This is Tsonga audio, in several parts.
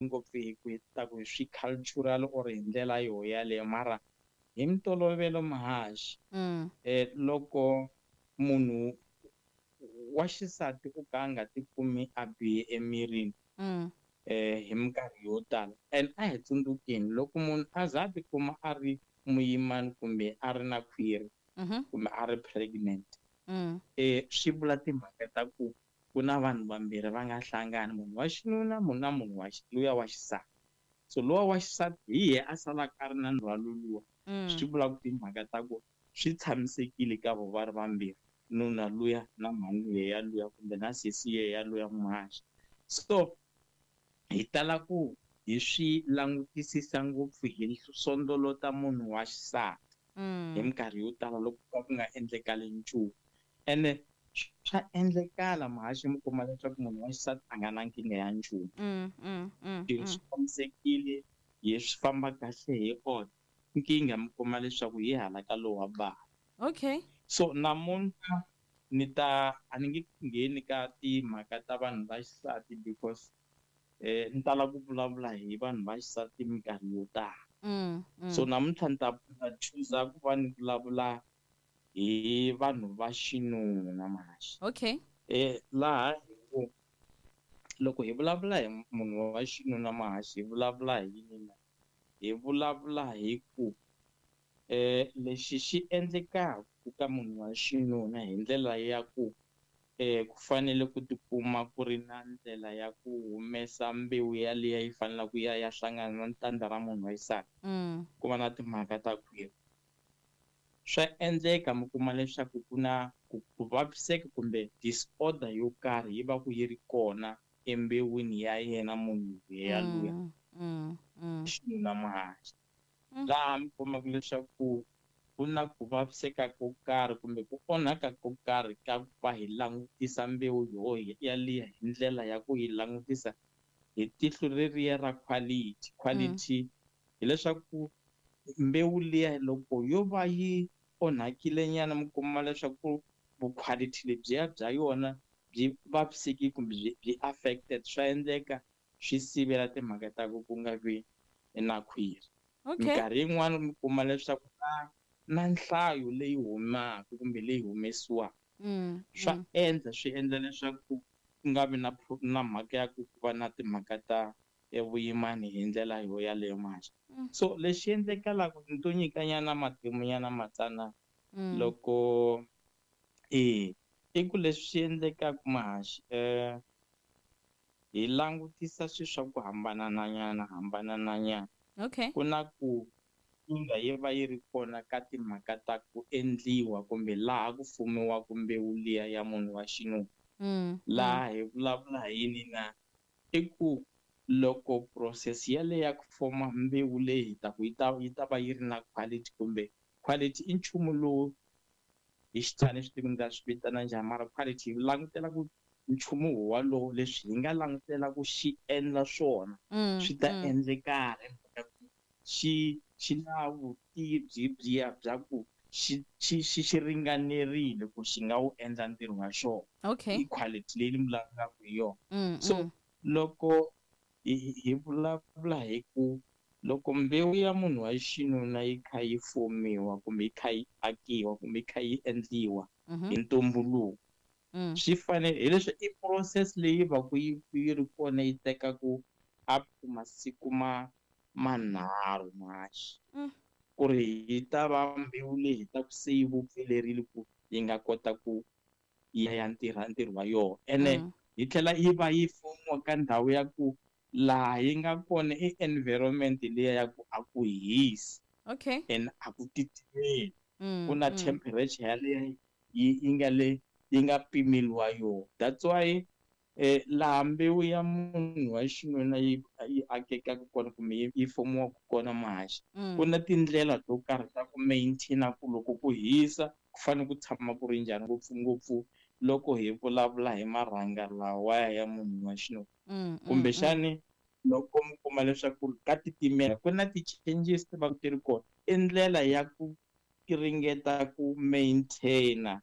Ngopfu hi ku hi ta ku hi swi cultural or hi ndlela yo yaleyo, mara hi mintolovelo, muhaxi, loko munhu wa xisati u ka a nga tikumi a bihe emirini hi minkarhi yo tala, and a hi tsundzukeni, loko munhu a za a tikuma a ri muyimani kumbe a ri na khwiri kumbe a ri pregnant, swi vula timhaka ta ku ku na vanhu vambirhi va nga hlangana, munhu wa xinuna, munhu na munhu wa luya wa xisati. So luwa wa xisati hi yehe a salaka a ri na ndzhwalo luwa. Swi vula ku timhaka ta ku swi tshamisekile ka vo va ri vambirhi, nuna luya na mhani yeya luya kumbe na sesi yeya luya, muhaxi. So hi tala ku hi swi langutisisa ngopfu, hi sondolota munhu wa xisati hi minkarhi yo tala loko ka ku nga endlekali nchumu. Ene swa endlekala, muhaxi, mi kuma leswaku munhu wa xisati a nga na nkingha ya nchumu, swilo swi tshamisekile, hi swi famba kahle hi order. Nkingha mi kuma leswaku hi hala ka lowa bava. So namuntlha ni ta a ni nge ngheni ka timhaka ta vanhu va xisati because ni tala ku vulavula hi vanhu va xisati minkarhi yo tala. So namuntlha ni ta choosa ku va ni vulavula hi vanhu va xinuna, muhaxi. Laha hi ku loko hi vulavula hi munhu wa xinuna, muhaxi, hi vulavula hi yini na? Hi vulavula hi ku lexi xi endlekaka ka munhu wa xinuna hi ndlela ya ku ku fanele ku tikuma ku ri na ndlela ya ku humesa mbewu yaliya yi faneleke ku ya ya hlangana na tandza ra munhu wa xisati, ku va na timhaka ta khwiri. Swa endleka mi kuma leswaku ku na ku vaviseka kumbe disorder yo karhi yi va ku yi ri kona embewini ya yena munhu yaloye xinuna, muhaxi. Laha mi kumaka leswaku ku na ku vaviseka ko karhi kumbe ku onhaka ko karhi ka ku va hi langutisa mbewu yo yaliya hi ndlela ya ku yi langutisa hi tihlo leriya ra quality. Quality hileswaku mbewu liya loko yo va yi onhakile nyana, mi kuma leswaku vuquality lebyiya bya yona byi vavisekile kumbe byi affected, swa endleka swi sivela timhaka ta ku ku nga vi na khwiri. Minkarhi yin'wani mi kuma leswaku na nhlayo leyi humaka kumbe leyi humesiwaka, swa endla swi endla leswaku ku nga vi na mhaka ya ku va na timhaka ta vuyimani hi ndlela yo yaleyo, muhaxi. So lexi endlekalaka, ni to nyikanyana matimu nyana matsanana. Loko i ku leswi swi endlekaka, muhaxi, hi langutisa swilo swa ku hambananyana hambananyana. Ku na ku nkingha yi va yi ri kona ka timhaka ta ku endliwa kumbe laha ku fumiwaka mbewu liya ya munhu wa xinuna. Laha hi vulavula hi yini na? I ku loko process yaleyo ya ku foma mbewu leyi hi ta ku yi ta va yi ri na quality, kumbe quality i nchumu lowu hi xitswana swi tivi ni ta swi vitana njhani, mara quality hi langutela ku nchumu walowo leswi hi nga langutela ku xi endla swona swi ta endlekala hi mhaka ku xi na vutivi byiya bya ku xi ringanerile ku xi nga wu endla ntirho wa xona. I quality leyi ni vulavulaka hi yona. So loko hi vulavula hi ku loko mbewu ya munhu wa xinuna yi kha yi fomiwa kumbe yi kha yi akiwa kumbe yi kha yi endliwa hi ntumbuluko, swi fanele hi leswi i process leyi va ku yi ri kona, yi tekaku up to masiku ma manharhu, muhaxi, ku ri yi ta va mbewu leyi hi ta ku se yi vupfelerile ku yi nga kota ku ya ya ntirha ntirho wa yona. Ene yi tlhela yi va yi fomiwa ka ndhawu ya ku laha yi nga kona i environment liya ya ku a ku hisi and a ku titimeli, ku na temperature yaleyo yi nga le yi nga pimeliwa yona. That's why laha mbewu ya munhu wa xinuna yi akekaka kona kumbe yi fomiwaka kona, muhaxi, ku na tindlela to karhi ta ku maintain ku loko ku hisa ku fanele ku tshama ku ri njhani, ngopfungopfu loko hi vulavula hi marhanga lawaya ya munhu wa xinuna. Kumbexani loko mi kuma leswaku ka titimela, ku na ti-changes ti va ti ri kona, i ndlela ya ku ringeta ku maintain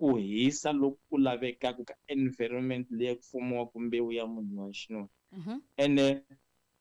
ku hisa loku ku lavekaka ka environment leyi ku fumiwaka mbewu ya munhu wa xinuna. Ene